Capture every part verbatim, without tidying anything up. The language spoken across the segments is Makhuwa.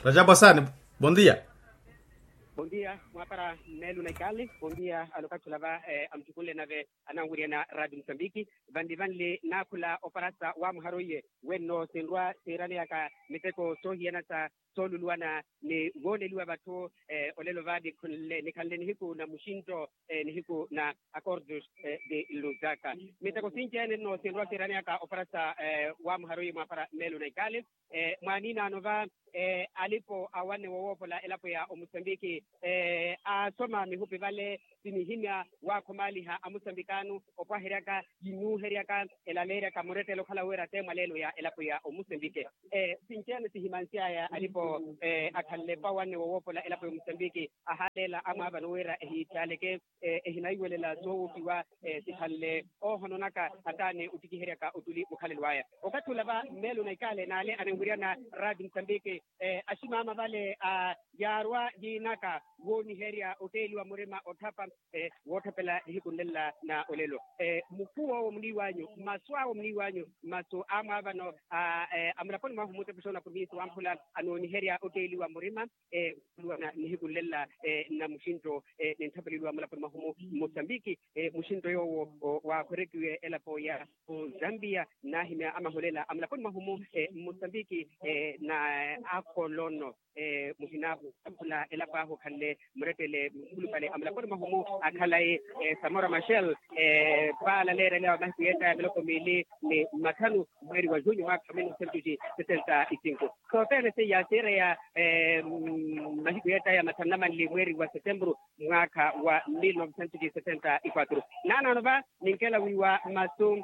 Rajabu asani. Bondia. Bondia mwapara. Melu na ikali bondia alokatula va. Amutukunle nave ananwiriyana radio musambiki. Vanli vanli nakhula oparasa wa muharoiye wenno sinrwa siiraneyaka miteko soohiyana sa sooluluwana ni wooneliwa vatthu. Olelo va nikhanle nihiku na muxinto nihiku na acordos de luzaka. Miteko sinci ene nno sinrwa siiraneyaka oparasa wa muharoiye mwapara melu na ikali. Mwaaniinaano va alipo awanne wowoopola elapo ya omusambiki aasoma mihupi vale sinihimya waakhomaaliha amusambikaano opwaheryaka yinuuheryaka elaleeryaka murettele okhala wira te mwaleelo ya elapo ya omusambiki. Sinci ene sihimansy'aya alipo akhanle vawanne wowoopola elapo ya omusambiki ahaaleela amwaavano wira ehiittaaleke ehinaiwelela soowokiwa sikhanle oohononaka hataani ottikiheryaka ottuli mukhalelo aya. Okathi ula va mmeelo na ikaale n'ale anenwiryana radio musambiki aximaama vale yaarwa yiinaka wooniherya otteeliwa murima otthapa wootthapela nihiku nlela na olelo. Mukhuw'owo muniiw'anyu masu awo muniiw'anyu masu amwaavano amulaponi mwahu mutepusha onapurimiisi wamphula anooniherya otteeliwa murima oluwana nihiku nlela na muxinto nintthapeleliwa mulaponi mwahumu mmusambiki. Muxinto yoowo waakhwerekiwe elapo ya ozambia naahimya amaholela amulaponi mwahumu mmusambiki na akolono muhinaahu akhula elapo ahu okhanle murettele mukhulupale amulaponi mwahumu akhalayi samora machel. Paala leerelewa mahiku yeettaya miloko miili ni mathanu mweeri wa junho mwaakha wa mil novecentos e setenta e cinco. Sothene seiya siireya mahiku yeettaya mathanu na manli mweeri wa setemburu mwaakha wa mil novecentos e setenta e quatro. Naanaano va ninkela wiiwa masu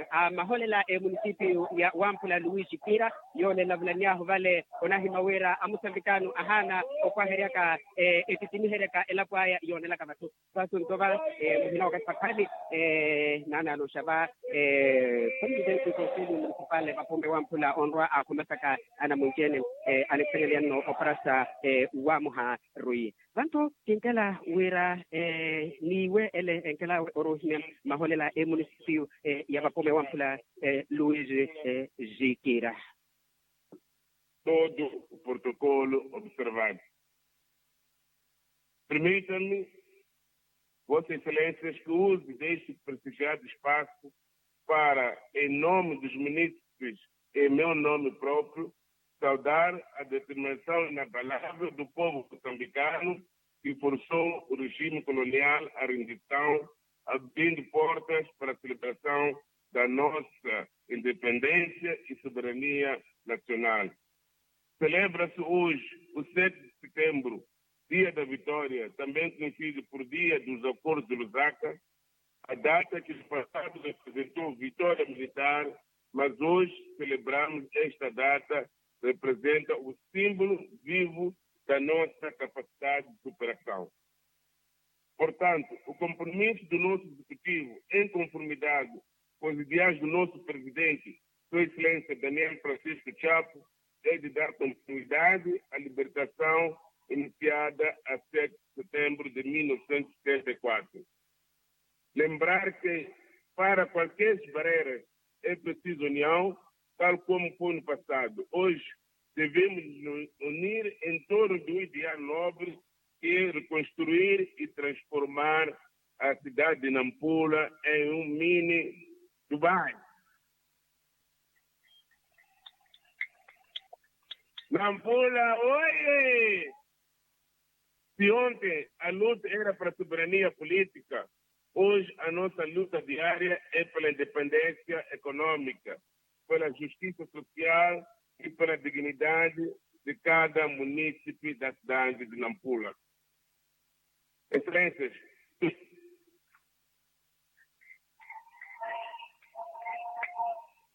a maholela emunisipio ya wamphula luis kira yoole elavulany'ahu vale onahimya wira amusambikaano ahaana opwaheryaka ettittimiheryaka elapo aya yoonelaka vatthu. Vasunto va muhina wakathi pakhali naanaano xa va presidenti konseli munisipale vapombe wamphula onrwa aakhumasaka anamwinci-ene anikhalelyanno oparasa wamuha rui. Vantu kinkela wira niiwe ele enkelawe oruhimya maholela emunisipio ya vapombe wamphula luis zikira. Todo o protocolo observado. Permita-me, vossas excelências, que use deste prestigiado espaço para, em nome dos munícipes e meu nome próprio, saudar a determinação inabalável do povo moçambicano que forçou o regime colonial à rendição, abrindo portas para a celebração da nossa independência e soberania nacional. Celebra-se hoje o sete de setembro, dia da vitória, também conhecido por dia dos acordos de Lusaka, a data que no passado representou vitória militar, mas hoje celebramos esta data, representa o símbolo vivo da nossa capacidade de superação. Portanto, o compromisso do nosso executivo, em conformidade com os ideais do nosso presidente, Sua Excelência Daniel Francisco Chapo, é de dar continuidade à libertação iniciada a sete de setembro de mil novecentos e setenta e quatro. Lembrar que, para qualquer barreira, é preciso união, tal como foi no passado. Hoje, devemos nos unir em torno de um ideal nobre, que é reconstruir e transformar a cidade de Nampula em um mini Dubai. Nampula, oiê! Se ontem a luta era para a soberania política, hoje a nossa luta diária é pela independência econômica, pela justiça social e pela dignidade de cada munícipe da cidade de Nampula. Excelências,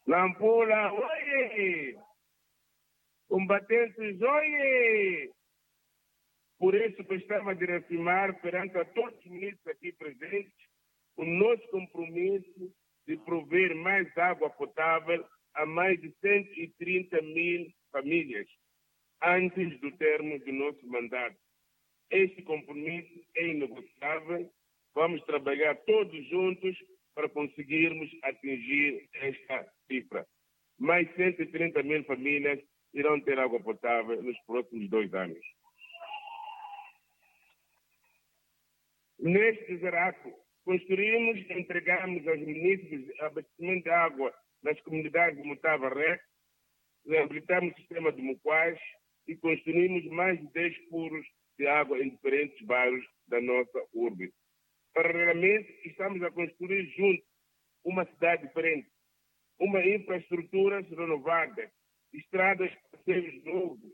Nampula, oiê! Combatentes, oiê! Por isso, gostava de reafirmar perante a todos os munícipes aqui presentes o nosso compromisso de prover mais água potável a mais de cento e trinta mil famílias antes do termo do nosso mandato. Este compromisso é inegociável. Vamos trabalhar todos juntos para conseguirmos atingir esta cifra. Mais cento e trinta mil famílias irão ter água potável nos próximos dois anos. Neste zerato, construímos e entregamos aos munícipes abastecimento de água nas comunidades de Mutava Rec, reabilitamos o sistema de Muquais e construímos mais de dez furos de água em diferentes bairros da nossa urbe. Paralelamente, estamos a construir juntos uma cidade diferente, uma infraestruturas renovadas, estradas, passeios novos,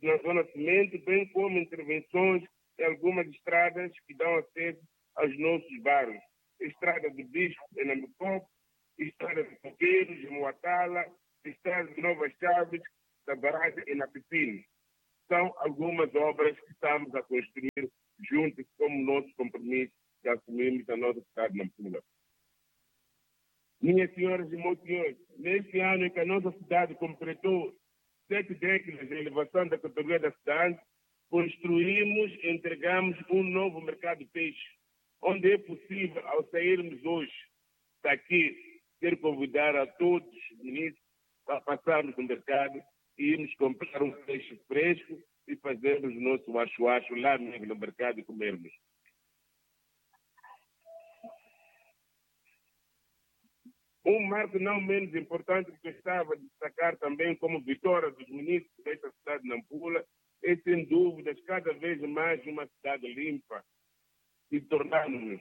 na zona cimento, bem como intervenções em algumas estradas que dão acesso aos nossos bairros. Estrada do Bispo, em Namicopo, estrada de Coqueiros, em Moatala, estrada de Novas Chaves, da barragem em Napipini. São algumas obras que estamos a construir juntos como nosso compromisso que assumimos na nossa cidade de Nampula. Minhas senhoras e meus senhores, neste ano em que a nossa cidade completou sete décadas de elevação da categoria da cidade, construímos e entregamos um novo mercado de peixe, onde é possível, ao sairmos hoje daqui, quero convidar a todos os munícipes para passarmos no mercado e irmos comprar um peixe fresco e fazermos o nosso acho-acho lá mesmo no mercado e comermos. Um marco não menos importante que gostava de destacar também como vitória dos munícipes desta cidade de Nampula é, sem dúvidas, cada vez mais uma cidade limpa e tornarmos.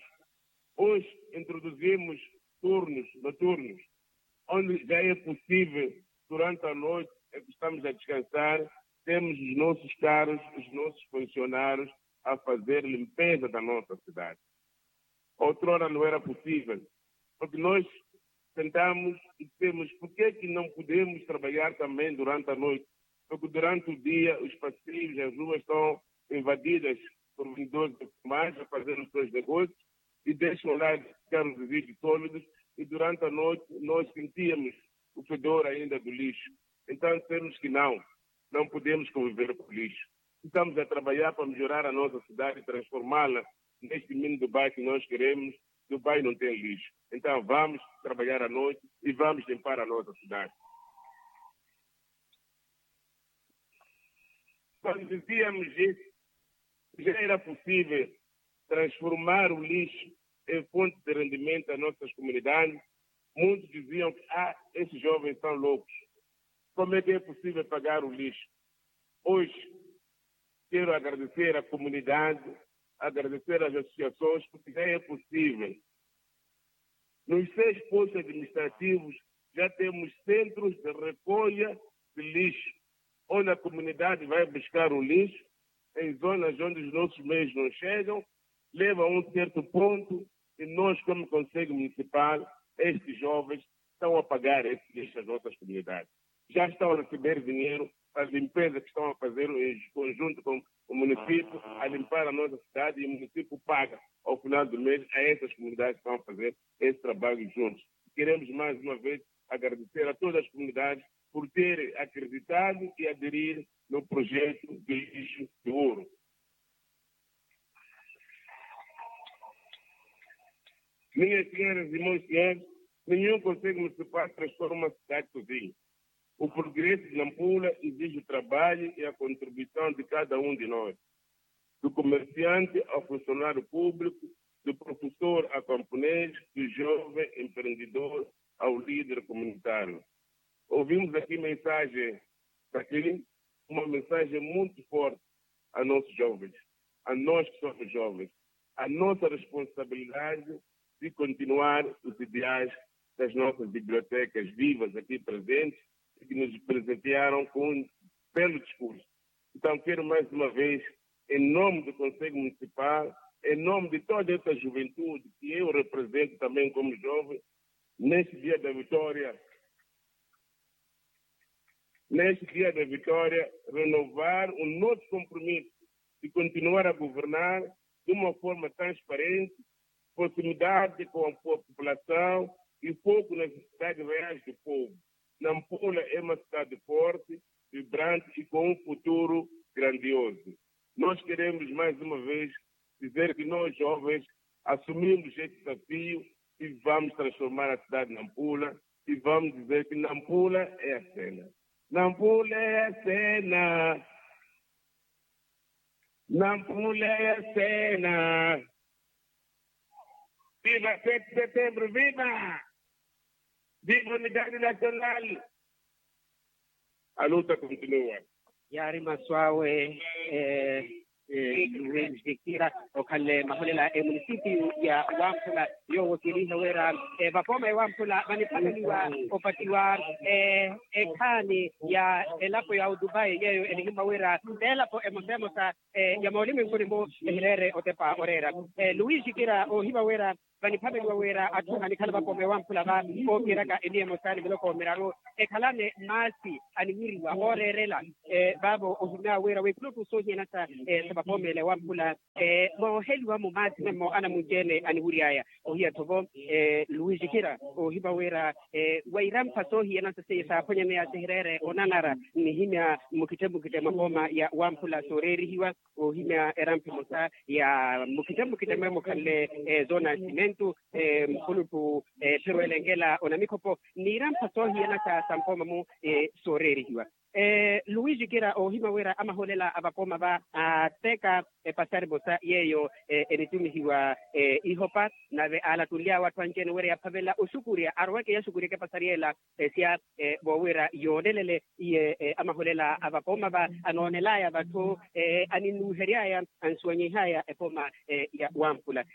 Hoje introduzimos turnos noturnos, onde já é possível, durante a noite, é que estamos a descansar, temos os nossos carros, os nossos funcionários a fazer limpeza da nossa cidade. Outrora não era possível, porque nós sentamos e dissemos, por que que não podemos trabalhar também durante a noite? Porque durante o dia os passeios, as ruas estão invadidas por vendedores de mais a fazer os seus negócios e deixam lá carros e vidros sólidos e durante a noite nós sentíamos o fedor ainda do lixo. Então dissemos que não, não podemos conviver com o lixo. Estamos a trabalhar para melhorar a nossa cidade e transformá-la neste mini Dubai que nós queremos. Dubai não tem lixo. Então vamos trabalhar à noite e vamos limpar a nossa cidade. Quando dizíamos isso, já era possível transformar o lixo em fonte de rendimento às nossas comunidades. Muitos diziam que, ah, esses jovens são loucos. Como é que é possível pagar o lixo? Hoje, quero agradecer à comunidade, agradecer às associações, porque já é possível. Nos seis postos administrativos já temos centros de recolha de lixo, onde a comunidade vai buscar o lixo em zonas onde os nossos meios não chegam, leva a um certo ponto e nós, como Conselho Municipal, estes jovens estão a pagar esse lixo às nossas comunidades. Já estão a receber dinheiro para a limpeza que estão a fazer em conjunto com o município, a limpar a nossa cidade e o município paga ao final do mês a essas comunidades que estão a fazer esse trabalho juntos. Queremos mais uma vez agradecer a todas as comunidades por terem acreditado e aderir no projeto de lixo de ouro. Minhas senhoras e meus senhores, nenhum conselho municipal transforma a cidade sozinho. O progresso de Nampula exige o trabalho e a contribuição de cada um de nós, do comerciante ao funcionário público, do professor ao camponês, do jovem empreendedor ao líder comunitário. Ouvimos aqui mensagem daqui, uma mensagem muito forte a nossos jovens, a nós que somos jovens, a nossa responsabilidade de continuar os ideais das nossas bibliotecas vivas aqui presentes e que nos presentearam com um belo discurso. Então quero mais uma vez, em nome do Conselho Municipal, em nome de toda essa juventude que eu represento também como jovem, neste dia da vitória, neste dia da vitória, renovar o nosso compromisso de continuar a governar de uma forma transparente, proximidade com a população e foco nas necessidades reais do povo. Nampula é uma cidade forte, vibrante e com um futuro grandioso. Nós queremos mais uma vez dizer que nós jovens assumimos este desafio e vamos transformar a cidade de Nampula e vamos dizer que Nampula é a cena. Nampula ya sena. Nampula ya sena. Viva sete setembro viva. Viva unidadi nasional. Aluta kontinua. Yaari masu awe. Luis vikira okhanle maholela emunisipiyu ya wamphula, yoowo kiiriha wira vapooma ya wamphula vaniphakheliwa opatiwa ekhaani ya elapo ya odubai yeeyo enihimwa wira t'elapo emosa emosa ya moolimwenkuni-mu ehireere otepa oreera. Luis kira oohiva wira vaniphaveliwa wira atthu anikhala vapooma ewamphula va ookiraka eniya emosa ni miloko miraru ekhalane maasi aniwiriwa ooreerela. Vaavo ohimya wira wikhuluttu soohiyana sa vapooma ele ewamphula mooheliwa-mu maasi memmo anamunci-ene aniwiry'aya. Ohiya-tho vo luwijikira oohiva wira wa irampha soohiyana sa seiyo saaphwanyaneya sihireere onanara nnihimya mmukitte mmukitte mwa pooma ya wamphula sooreerihiwa. Oohimya erampha emosa ya mmukitte mmukitte mweemukhanle zona ya simentu mukhuluttu etherweele nkela onamikhopo n'irampha soohiyana sa mpooma-mu sooreerihiwa. Luwijikira oohimya wira amaholela a vapooma va aateka epasari emosa yeeyo enitumihiwa ihopa nave aalattunly'awe atthu anci-ene wira yaphavela oxukurya aroweke yaxukuryeke epasari ela esya voowira yoonelele iye amaholela a vapooma va anoonel'aya vatthu aninnuuhery'aya ansuwanyih'aya epooma ya wamphula.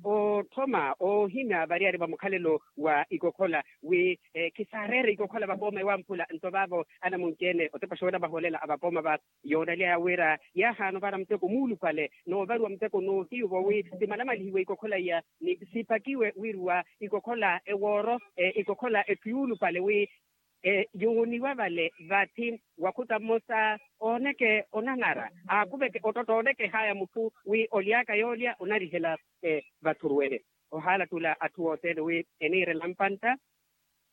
Otthoma oohimya variyari va mukhalelo wa ikokhola wi khisaareere ikokhola vapooma ewamphula nto vaavo anamunci-ene otepa xoola vaholela a vapooma va yoonaly'aya wira yaahaana ovara muteko muulupale noovariwa muteko noohiyuva wi simalamalihiwe ikokhola iya ni sipakiwe wiiruwa ikokhola ewooro ikokhola etthu yuulupale wi yooniwa vale vathi wakhuta mmosa ooneke onang'ara aakuveke ottotta oonekeh'aya mutthu wi oly'aka yoolya onarihela vathuruwele. Ohaalattula atthu othene wi eniirela mpantta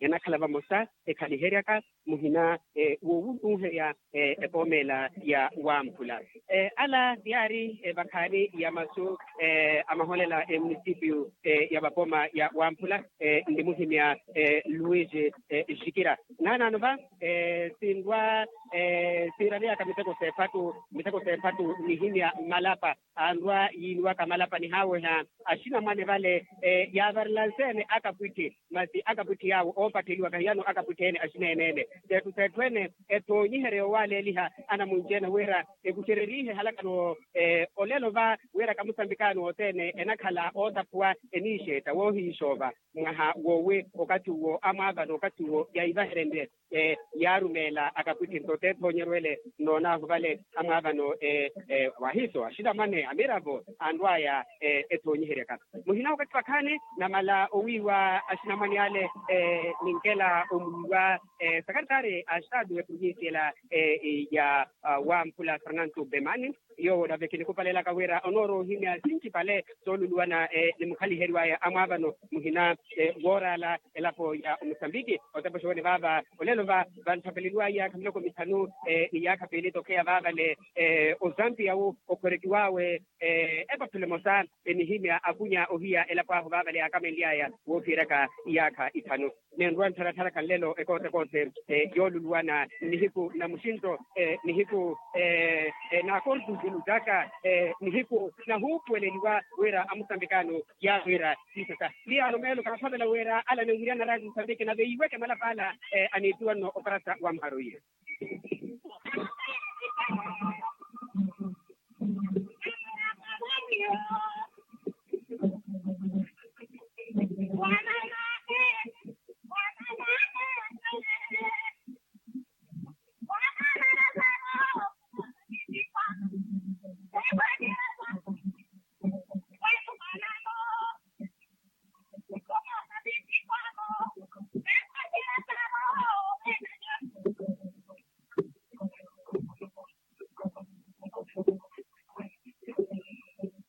enakhala vamosa ekhaliheryaka muhina woowunuuherya epoomela ya wamphula. Ala tiyaari vakhaani ya masu amaholela emunisipiyu ya vapooma ya wamphula. Nnimuhimya luis jikira naanaano va sinrwa siiraliyaka miteko seephattu miteko seephattu nnihimya mmalapa anrwa yiiniwaka malapa nihaaweha axinamwane vale yaavarelansene akapwitthi masi akapwitthi yaawo oopatteliwaka hiyano akapwitthi ene axineenene seetthu seetthu ene ethoonyiherya yowaaleeliha anamunci-ene wira ekuxererihe halakano olelo va wira kamusambikaani wothene enakhala ootaphuwa eniixeetta woohiixoova mwaha woowi okathi uwo amwaavana okathi uwo yaivaherenrye yaarumeela akapwitthi nto t'ethoonyerwele noonaahu vale amwaavano wahiiso axinamwane amiravo anrw'aya ethoonyiheryaka muhina okathi vakhaani namala owiiwa axinamwane ale ninkela omwiiwa sakaritari a estado eprovincia ela ya wamphula fernando bemani yoowo nave kinikupalelaka wira onoorowa ohimya sincipale sooluluwana ni mukhaliheriwaya amwaavano muhina wooraala elapo ya omusambiki otepa oxoone vaava olelo va vantthaveleliwaya khamiloko mithanu ni yaakha piili tokheya vaavale ozampiya wu okhorekiwaawe epaphelo emosa enihimya akunya ohiya elapo ahu vaavale yaakamenly'aya woophiyeryaka iyaakha ithanu nenrwa nttharatthara khanlelo ekootekoothe yooluluwana nihiku na muxinto nihiku na kortu zilutaka nihiku na huupuweleliwa wira amusambikaano yaawira siisasa miyaano meelo kaathavela wira ala ananwiryanarya musambiki nave yiiweke malapa ala aniittuwa nno oparasa wa mharo iye